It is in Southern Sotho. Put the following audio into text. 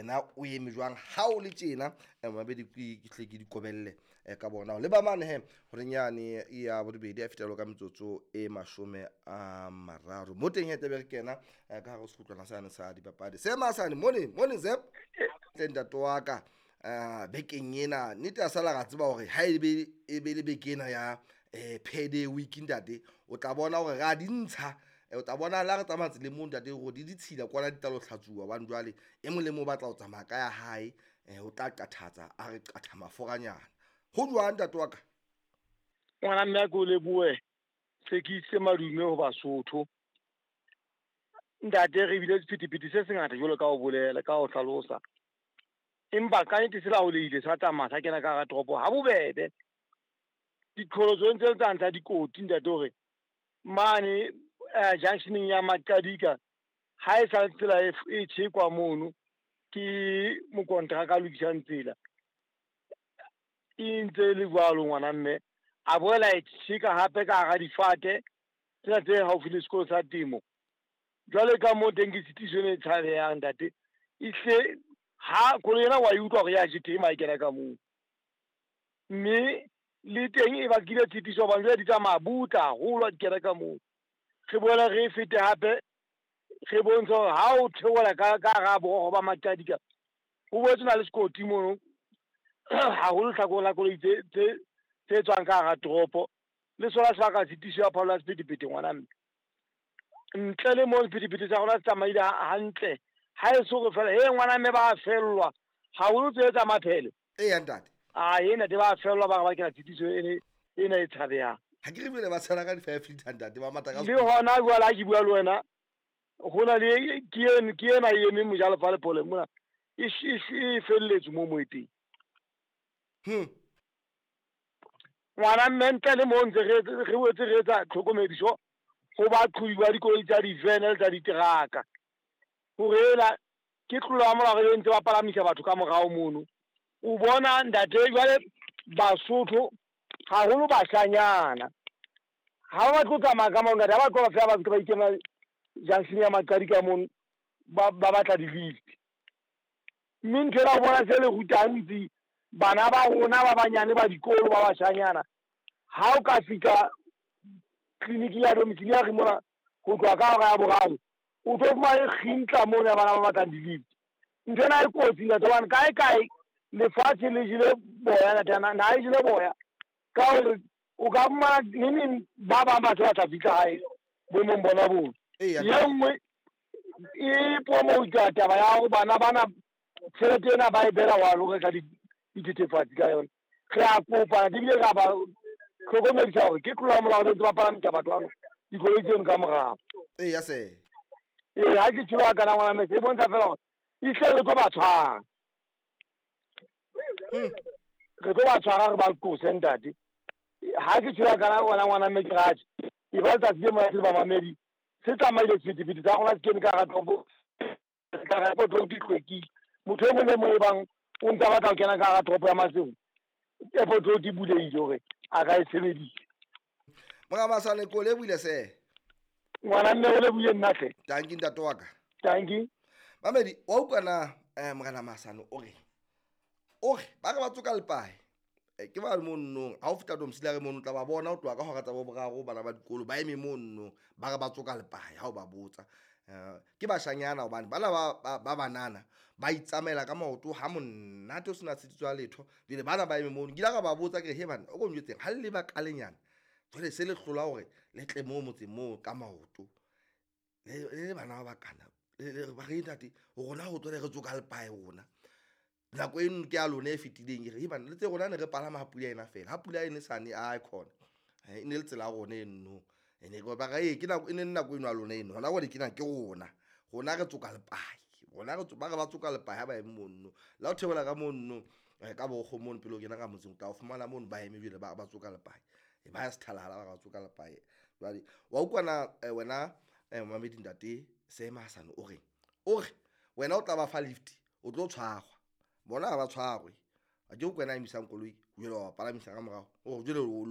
Yena o eme jwang ha o le tjena? Mabedi ke tle ke di kobelle ka bona le ba mane he horeng yane ya borobedi a fetelo ka metsotso e 30 mo teng he tlabe re kena ka hare ho sekgutlwana sane sa dipapadi. Seema sane mone mone zep tle ntate wa ka bekeng ena nnete a sala ra tseba hore ha ebe e be le beke ena ya payday week ntate, o tla bona hore ra di ntsha. O tla bona la re tsamaya tseleng moo ntate hore di ditshila kwana di tla lo hlatsuwa hobane jwale e mong le mong o batla ho tsamaya ka ya hae. O tla qathatsa a re qatha maforanyana. Ho jwang ntate wa ka? Ngwana mme, a ke o lebohe. Se ke isitse madume ho Basotho. Ntate, re bile sephethephethe se sengata jwalo ka ho bolela, ka ho hlalosa. Empa ka nnete se laolehile, sa tsamaya sa kena ka hara toropo ha bobebe. Diqholotso ntse le tsane tsa dikoti ntate, hore mane junctioneng ya Maqadika ha e sa tsela e tjhekwa mono ke mokontraka a lokisang tsela. E ntse e le jwalo ngwana mme, a boela e tjheka hape ka hara difate tsena tse haufi le sekolo sa temo. Jwale ka moo teng ke tshitiso ena e tshabehang ntate. Ehlile ha koloi ena wa e utlwa hore ya jetema ha e kena ka moo. Mme le teng e bakile tshitiso hobane jwale di tsamaya butle haholo ha di kena ka moo. Re boele re fete hape re bontshe hore ha o theohela ka hara borogo ba Maqadika ho boetse na le sekoti mono haholo hlakoreng la koloi tse tswang ka hara toropo. Le sona sebaka tshitiso ya phallo ya sephethephethe ngwana mme. Ntle le moo sephethephethe sa rona se tsamaile hantle. Ha e so re fela he ngwana mme ba fellwa haholo tse tsa maphele. Eya ntate. A ena te ba fellwa ba re bakela tshitiso ena e tshabehang. Ha ke re bile ba tshela ka di-5 liter ntate, ba mata ka Le hona jwale ha ke bua le wena, ho na le ke ena e emeng Mojalefa Lepole mona e felletswe mo e teng. Ngwana mme, ntle le moo ntse re boetse re etsa tlhokomediso ho baqhobi ba dikoloi tsa divene le tsa diteraka hore ela ke tlolo ya molao e ntse ba palamisa batho ka morao mono. O bona ntate, jwale Basotho haholo bashanyana ha ba batle ho tsamaya ka maoto, ha ba tloha fela ba se ba ikemela junction ya Maqadi ka mono ba batla di-lift. Mme ntho ena o bona se le rutang ntsi bana ba rona ba banyane ba dikolo ba bashanyana, ha o ka fihla clinic ya domiciliary mona ho tloha ka hora ya 3, o tlo fumana kgintla mono ya bana ba batlang di-lift. Ntho ena e kotsi ntate, hobane kae kae lefatshe le jele boya ntate, naha e jele boya ka hore o ka fumana neneng ba bang ba se ba tla fihla hae boemong bona bono. Eya. E nngwe e promota taba ya hore bana bana tjhelete ena ba e beela wa lo reka dithethefatsi ka yona. Re a kopa ebile re a ba hlokomedisa hore ke tlolo ya molao ntse ba palamisa batho bano dikoloi tseno ka morao. Eya se. Ee, ha ke tjho kana ngwana mese e bontsha fela hore ehlile re tlo ba tshwara. Re tlo ba tshwara re ba qose ntate. Ha ke tjho kana wena ngwana mme ke ratjhe. E ba letsatsi le monate le bamamedi. Se tsamaile sephethephethe sa rona se kene ka hara toropo. Ka hara toropo di hlwekile. Motho e mong le mong e bang o ntsa batla ho kena ka hara toropo ya Maseru, airport road e bulehile hore a ka e sebedisa. Mora Masane, ko lebohile se. Ngwana mme, o lebohile nna hle. Tanki ntate wa ka. Tanki. Mamedi, wa utlwa na morena Masane o re ba re ba tsoka lepae. Ke ba le mono ha o fihla domiciliary mono o tla ba bona o tloha ka hora tsa bo boraro bana ba dikolo ba eme mono ba re ba tsoka lepae ha o ba botsa. Ke bashanyana hobane bana ba banana ba itsamaela ka maoto ha monate o sena tshitiso ya letho. Jwale bana ba eme mono ke ile ka ba botsa ke re he bana o ko njwetseng ha le ba kalenyana jwale se le hlola hore le tle moo motseng moo ka maoto le bana ba bakana ba re ntate rona ho tswele re tsoka lepae rona nako eno ke ya lona e fetileng. Ke re bana le tse rona ne re palama ha pula ena fela, ha pula ene sane a khona e ne le tsela ya rona eno ene ba re ke nako e ne nako eno ya lona eno hona jwale ke na ke rona rona re tsoka lepae rona re ba re ba tsoka lepae ha ba eme mono la o theohela ka mono ka bokgo mono pele o kena ka motseng o tla o fumana mono ba eme jwale ba tsoka lepae ba ya sethalala ba tsoka lepae. Jwale wa utlwa na wena mamedi ntate Seema Hasane o reng? O re wena o tla ba fa lift o tlo tshwarwa bona ha ba tshwarwe a ke o kwena emisang koloi jwale wa palamisa ka morao o jwale o